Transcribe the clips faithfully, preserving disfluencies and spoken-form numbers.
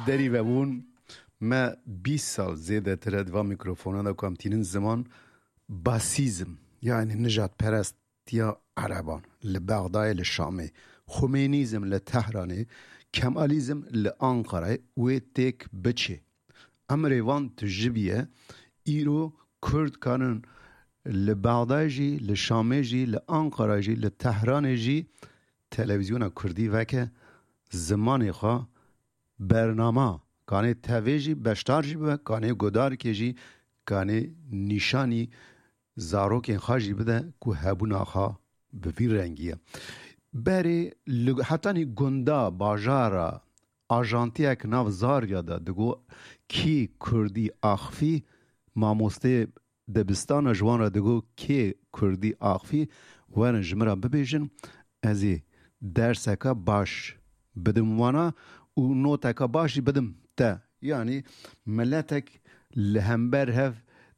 Derî vebûn, me bîst sal zêdetir e di va mîkrofonan de ku em tînin ziman basîzm, yani nijadperestiya Ereban li Bexdayê, li Şamê, Xumênîzm li Tehranê, Kemalîzm li Anqarayê wê têk biçê. Emrê van tu ji bîye, îro Kurd kanin li Bexdayê jî, li Şamê jî, li Anqarayê jî, li Tehranê jî televîzyona Kurdî veke, zimanê xwe bernama, kanê tevê jî beşdar jî bibe, kanê gudarkê jî, kanê nîşanî zarokên xwe jî bide ku hebûna xwe bi vî rengî ye. Berê li hetanî gunda, bajara, ajantiyek nav Zarya de digo, kî Kurdî axifî, mamosteyê dibistana ji wan re digo, kê Kurdî axifî, werin ji min re bibêjin, ez ê derseke baş bidim wana û noteke baş jî bidim te. Yanî miletek li hember hev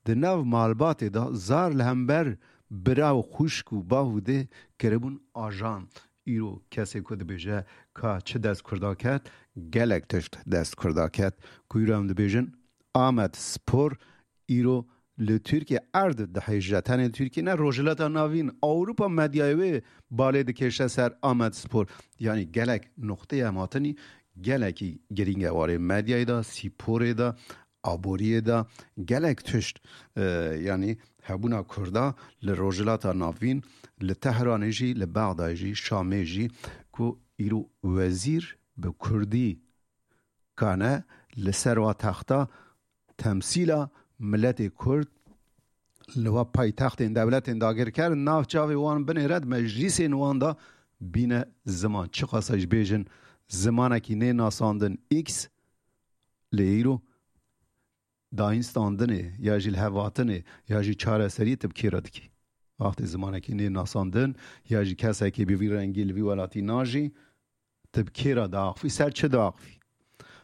di nav malbatê de, zar li hember bira û xwişk û bav û dê kiribûn ajan. Îro kesê ku dibêje ka çi dest Kurda ket, gelek tişt dest Kurda ket. Ku îro em dibêjin Amed Spor, îro li Tirkiye erd dihêje. Tenê Tirkiye ne, Rojhilata Navîn, Ewropa medyayê wê balê dikêşe ser Amed Spor. Yanî gelek noqteyê em hatinî gelekî girîng e warê medyayê de, sporê de, aboriyê de, gelek tişt, e, yanî hebûna Kurda li Rojhilata Navîn, li Tehranê jî, li Bexdayê jî, Şamê jî, ku îro wezîr bi Kurdî kane li ser wa texta temsîla miletê Kurd li wa paytextên dewletên dagirker nav çavê wan binêre, di meclîsên wan de bîne ziman. Çiqasa jî bêjin zimanekî nê nasandin X, lê îro dayînstandinê ya jî lihevhatinê ya jî çareseriyê tu bi kê re dikî? Wextê zimanekî nê nasandin ya jî kesekî bi vî rengî li vî welatî najî, tu bi kê re diaxifî, ser çi diaxifî?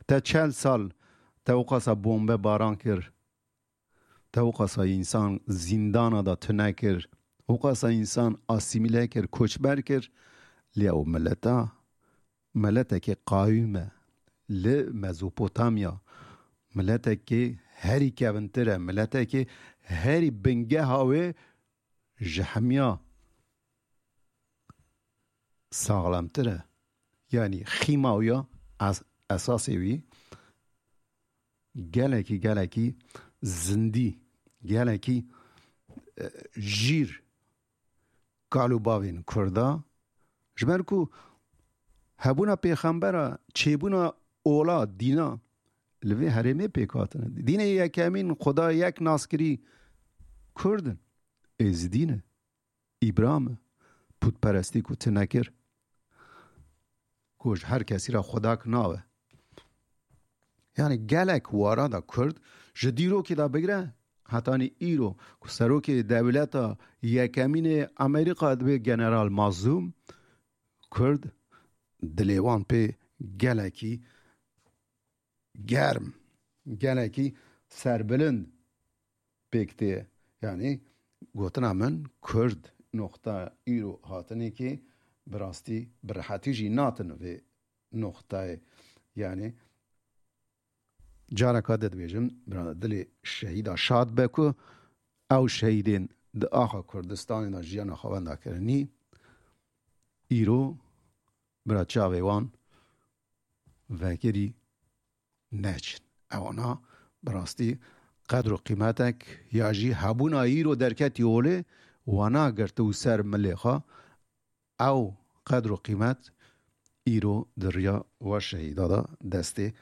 Te çel sal te wiqasa bombe baran kir, te wiqasa însan zîndana de tune kir, wiqasa însan asîmîle kir, koçber kir, lê ew mileta, miletekê qawîm e li Mezopotamya, miletekê herî kevintir e, miletekê herî bingeha wê ji hemiya saxlemtir e. Yanî xîma wî ya es-, esasê wî gelekî, gelekî zindî, gelekî, e, jîr kal û bavên Kurda, ji ber ku hebûna pêxembera, çêbûna ola dîna li vê herêmê pêk hatine. Dînê yekemîn Xuda yek naskirî Kurd in, Êzidî ne. Îbram e, pûtperestî ku tu nekir, ku ji her kesî re Xudak nabe. Yani gelek wara da Kurd ji dîrokê de bigire hetanî îro ku serokê dewleta yekemînê Amerîka dibe General Mazlûm, Kurd dilê wan pê gelekî germ, gelekî serbilind pêk tê. Yani gotina min Kurd noqta îro hatinê ki bi rastî bi rehetî jî natin vê noqtayê. Yani careka de dibêjim, bira dilê şehîda şad be ku ew şehîdên di axa Kurdistanê de jiyana xwe wenda kirinî, îro bira çavê wan vekirî neçin. Ewana bi rastî qedr û qîmetek ya jî hebûna îro derketî olê wana girtibû ser milê xwe. Ew qedr û qîmet îro di riya wa şehîda de destê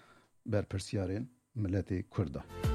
berpirsiyarên miletê Kurd de.